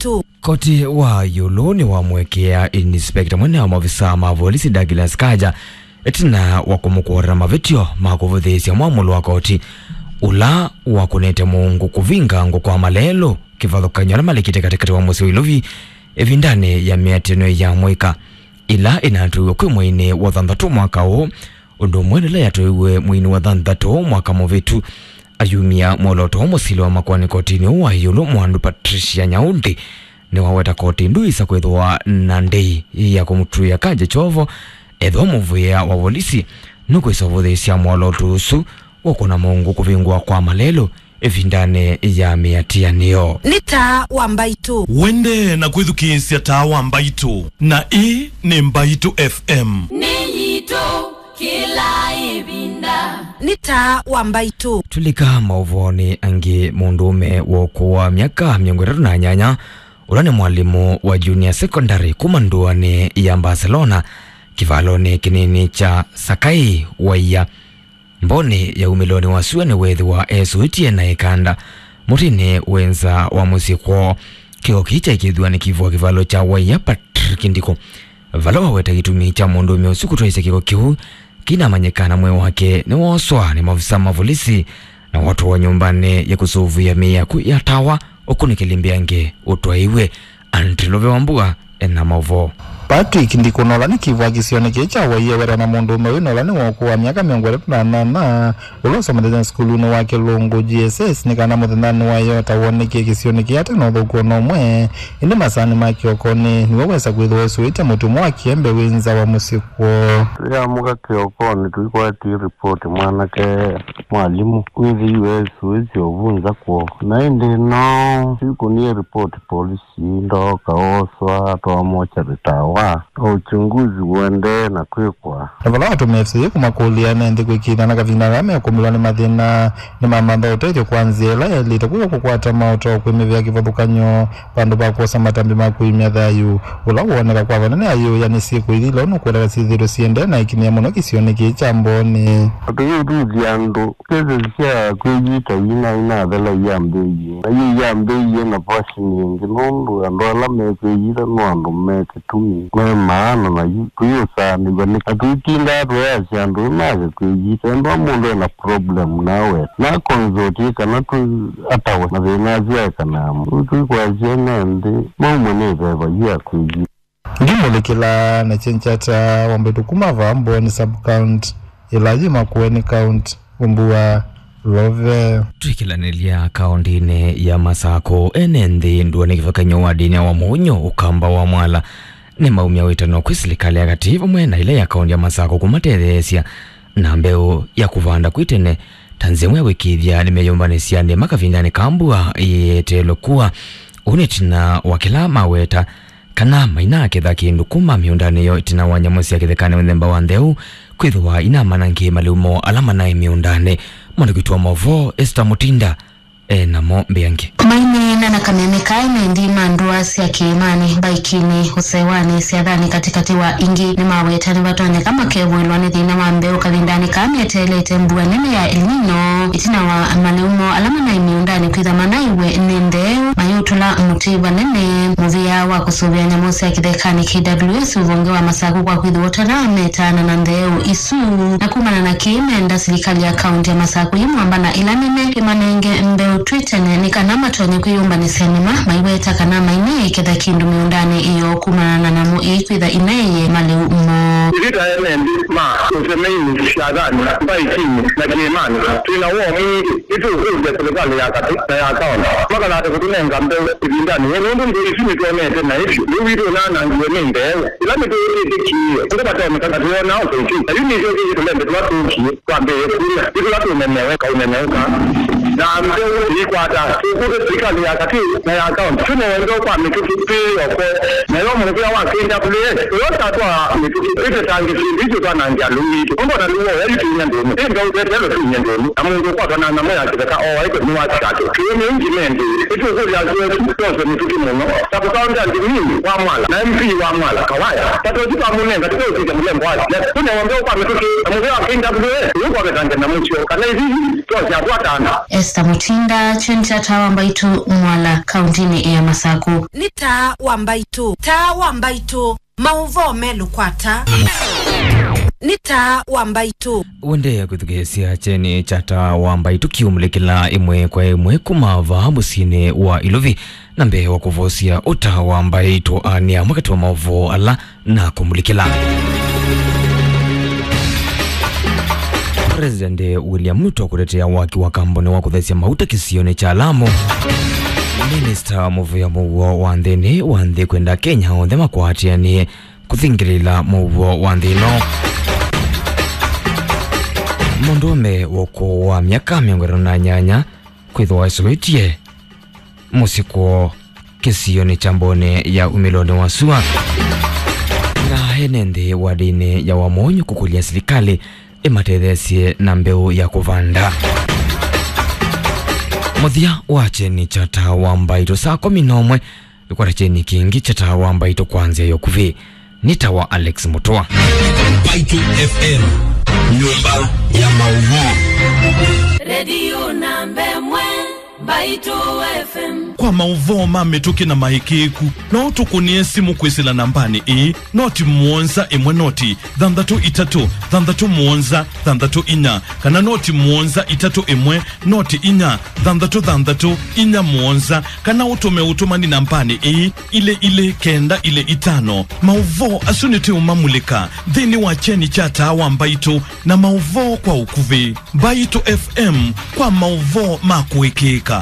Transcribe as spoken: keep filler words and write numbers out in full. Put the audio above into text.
Mbaitũ. Koti wa ĩũlũ nĩwamũekea inspector mũnene wa maovisaa ma volisi Douglas Kaja ĩtina wa kũmũkũũra mavĩtyo ma kũvũthĩĩsya mwamũlo wa koti ũla wakũnĩte mũungu kũvinga ngũ kwa malelũ kĩvathũkany'o ala malikĩte katĩkatĩ wa mũsyĩ wa Ilovi ĩvindanĩ ya mĩatĩanĩo ya mũika ĩla ĩnatũiwe kwĩ mweinĩ wa thanthatũ mwaka ũũ, ũndũ ũmwe na ĩla yatũiwe mweinĩ wa thanthatũ mwaka mũvĩtu. Ayumya mwolooto wa mũsili wa makoani kotinĩ ũũ wa ĩũlũ, Mwandu Patricia Nyaundi, nĩwaweta koti ndũĩsa kwĩthĩwa na ndĩi ya kũmũtw'ĩa Kaja kyovo ethĩwa mũvĩa wa volisi nũkwĩsa ũvũthĩĩsya mwolooto ũsu wa kũna mũungu kũvingũa kwa malelũ ĩvindanĩ ya mĩatĩanĩo. Nĩ Taa wa Mbaitũ. Wende na kwĩthukĩĩsya Taa wa Mbaitũ, na ĩĩ nĩ Mbaitũ F M. Nĩ yitũ kĩla ĩvinda. Nĩ Taa wa Mbaitũ. Tũlika maũvoonĩ angĩ. Mũndũũme wa ũkũũ wa myaka mĩongo ĩtatũ na nyanya, ũla nĩ mwalimũ wa junior secondary kuma ndũanĩ ya Barcelona, kĩvalonĩ kĩnini kya Sakai Waia, mbonĩ ya umĩlonĩ wa sua nĩweethĩwa esũĩtye na ĩkanda mũtĩnĩ wĩ nza wa mũsyĩ kwoo. Kĩko kĩĩ kyaĩ kĩthuanĩ kĩvũa kĩvalo kya Waia Patrick Ndikũ, vala waweta kĩtumi kya mũndũũme ũsu kũtwaĩsya kĩko kĩu kĩnamanyĩka na mwĩĩ wake nĩwooswa nĩ maovisa ma volisi na watwawa nyũmbanĩ ya kũsũvĩa mĩĩ yaku ya tawa ũkunĩkĩli mbeange ũtwaĩwe. Andrew Love wa Mbua ena maũvoo. Patrick Ndikũ, na ũla nĩ kĩvũa kĩsionĩ kĩĩ kya Waia, wetwa na mũndũũme ũyũ, na ũla nĩ wa ũkũũ wa myaka mĩongo ĩtatũ na nyanya, ũla ũsomethe sukulunĩ wa Kĩlũngũ G S S, nĩ kana mũthenyanĩ wa ĩyoo ta wonekie kĩsionĩ kĩĩ ate na ũthũku o na ũmwe, ĩndĩ masaanĩ ma kĩokonĩ nĩwe wesa kwĩthĩwa esũĩtye mũtumwa wa kĩembe wĩ nza wa mũsyĩ kwoo. Twĩamũka kĩokonĩ, tũikwatie ripoti mwanake mwalimũ wĩthĩiwe esũĩtye ũvunza kwoo, na ĩndĩ no twĩkũnie ripoti polisi. Ndooka ooswa atwawa mochari tawa, na uchunguzi ũendee na kwĩkwa. Na vala watũmĩe F C A kũmakũlya me nthĩ kwĩkĩĩthya na kavinda kaa mekũmĩlwa nĩ mathĩna, nĩmamantha ũtethyo kwa nzĩa ĩla yaĩlĩte, kwĩka kũkwata maũtao kwĩmĩvĩa kĩvathũkany'o vandũ va kwosa matambya ma kũimya thayũ ũla wooneka kwa vanene ayĩũya nĩ syĩko ithila ũnũkwĩlana syĩthĩĩtwe siendee na ĩkinyĩa mũno kĩsionĩ kĩĩ kya Mbonĩ. Atũyũthuthya andũ. Cases sya kwĩyita ina inathela iyambĩĩie, na yu iyambĩĩie na version ĩngĩ, nũndũ andũ ala mekwĩyita no andũ me kĩtumi, me maana, na yu tũyũsaanĩw'a nĩ, na tũitindaa tũyasya andũ nĩmake kwĩyita. Ethĩwa mũndũ ena problem nawe, na consult kana tũ atawe mathĩna asu aekanaa mo. Yu tũikwasya ene nthĩ maumwe nĩ ĩveva yu ya kwĩyita. Ngĩmũlikĩla na kyengyata wa Mbaitũ kuma vaa Mboni sub-county ĩla yĩ Makueni County, Ũmbua Love. Twĩkĩlanĩlya kaũndĩnĩ ya Masakũ, ene nthĩ ndũanĩ kĩvathũkany'o wa ndĩni wa Mũunyũ, Ũkamba wa Mwala, nĩmaumya wĩtano kwĩ silikalĩ ya katĩ vamwe na ĩla ya kaũndĩ ya Masakũ kũmatetheesya na mbeũ ya kũvanda kwĩ tene, ta nzĩa ĩmwe ya kũĩkĩĩthya nĩmeyũmbanĩsya nĩma kavindanĩ ka mbua ĩeteelwe kua. Ũu nĩ ĩtina wa kĩla maweta kana mainaketha kĩndũ kuma mĩũndanĩ yoo ĩtina wa nyamũ sya kĩthekanĩ mũthemba wa ntheu kwĩthĩwa inamanangĩe malĩu moo ala manaĩ mĩũndanĩ. Mwandĩki witũ wa maũvoo Esther Mutinda e namo mbeange. Maineena na kameme ka ene nthĩ ma ndũa sya kĩĩmanĩ, mbaikinĩ, ũsewanĩ, syathanĩ, katĩkatĩ wa ingĩ, nĩmaweta nĩvatonyeka makevũĩlwa nĩ thĩna wa mbeũ kavindanĩ kaa meteelete mbua nene ya El Nino ĩtina wa malĩu moo ala manaĩ mĩũndanĩ kwĩtha manaiwe nĩ ntheu mayũtũla mũtĩ vanene. Mũvĩa wa kũsũvĩa nyamũ sya kĩthekanĩ, K W S, ũvonge wa Masakũ kwa kwĩthĩwa ũtanametaana na ntheu isu, na kumana na kĩĩ menda silikalĩ ya kaũntĩ ya Masakũ yĩ mwamba na ĩla nene ĩmanenge mbeũ twĩ tene nĩ kana matonye kwĩyũmbanĩsya nĩma, maiweta kana maineeketha kĩndũ mĩũndanĩ ĩyo kumana na nyamũ ii kwĩtha ineeye malĩu moo. Ithyĩ ta ene nthĩ ma ũsemeinĩ, syathani, mbaikinĩ, na kĩĩmanĩ, twĩ na woo mwingĩ. Nĩtũũkũlya silikalĩ ya katĩ na ya kaũntĩ makalate kũtũnenga mbeũ ĩvindanĩ yĩĩ, nũndũ nthĩ isu nĩtwonete naĩ vyũ. Lĩu witũ ũnaanangiwe nĩ mbeũ ila mĩtũĩtĩkĩie. Ũndũ vatonyeka na twĩona ũsaithi. Na yu nĩtwĩkĩie tũlembe tũla tũkie twambĩĩe kuma. Nĩ tũla tũnenewe kaũneneũka. Na mbeũ ĩikwata. Tũkũlya silikalĩ ya katĩ na ya kaũntĩ tũnewe mbeũ kwa mĩtũkĩ twĩ o kwoo. Nayo mũvĩa wa K W S ũla ũtatwaa mĩtũkĩ twĩtetangĩsye nthĩ isu twanangĩa lĩu witũ. Nũndũ o na lĩu woya yu tũinya ndũnũ. Ĩ mbeũ tweteelwe tũinye ndũnũ. Na mũndũ ũkwatwa na nyamũ ya kĩtheka ooaĩtwe nĩwasika ata? Kĩw'ũ nĩ ũngĩ mendĩ. Nĩtũkũlya asu esu twose mĩtũkĩ mũno. Ta kũkaũnda Ndimini wa Mwala na M P wa Mwala Kawaya. Tatosi twamũnenga tũteũsisya mũlembo wa siasa. Tũnewe mbeũ kwa mĩtũkĩ na mũvĩa wa K W S ũyũ kwavetangya nyamũ syoo. Kana ithyĩ twose atwatana. Esther Mutinda, kyeni kya Taa wa Mbaitũ, Mwala, kauntinĩ ya Masaku. Nĩ Taa wa Mbaitũ, Taa wa Mbaitũ, maũvoo melũ kwa ata. Nĩ Taa wa Mbaitũ. Ũendee kwĩthukĩĩsya kyeni kya Taa wa Mbaitũ kĩũmulĩkĩla ĩmwe kwa ĩmwe kuma vaa mũsyĩnĩ wa Ilovi, na mbee wa kũvosya ũta wa mbaitũ, aa nĩ amwe katĩ wa maũvoo ala na kũmulĩkĩla. President William Ruto kũtetea waki wa kambuni wa kũthesya mauta kĩsionĩ kya Lamu. Minista mũvĩa mũuo wa nthĩnĩ wa nthĩ kwenda Kenya onthe makwatĩanĩe kũthingĩlĩla mũuo wa nthĩ ĩno. Mũndũũme wa ũkũũ wa myaka mĩongo ĩtatũ na nyanya kwĩthĩwa esũvĩtye mũsyĩ kwoo kĩsionĩ kya Mbone ya umĩlonĩ wa sua. Na ene nthĩ wadĩnĩ ya Wamonyo kũkũlya silikalĩ ĩmatetheesye na mbeũ ya kũvanda. Mũthya wa kyeni kya Taa wa Mbaitũ saa kũmi na ũmwe, ĩkwata kyeni kĩngĩ kya Taa wa Mbaitũ kwa nzĩa ya ũkuvĩ. Nĩ Taa wa Alex Mũtũa. Mbaitũ F M, nyũmba ya maũvoo. Redio namba ĩmwe, Mbaitũ F M. Kwa maũvoo ma mĩtũkĩ na maĩkĩĩku, no ũtũkũnĩe simũ kwĩsĩla nambanĩ ĩĩ, noti mũonza ĩmwe noti thanthatũ itatũ thanthatũ mũonza thanthatũ inya, kana noti mũonza itatũ ĩmwe noti inya thanthatũ thanthatũ inya mũonza, kana ũtũme ũtũmani nambanĩ ĩĩ, ilĩ ilĩ kenda ilĩ itano. Maũvoo asu nĩtũũmamulĩka nthĩnĩ wa kyeni kya Taa wa Mbaitũ na maũvoo kwa ũkuvĩ. Mbaitũ F M kwa maũvoo ma kũĩkĩĩka.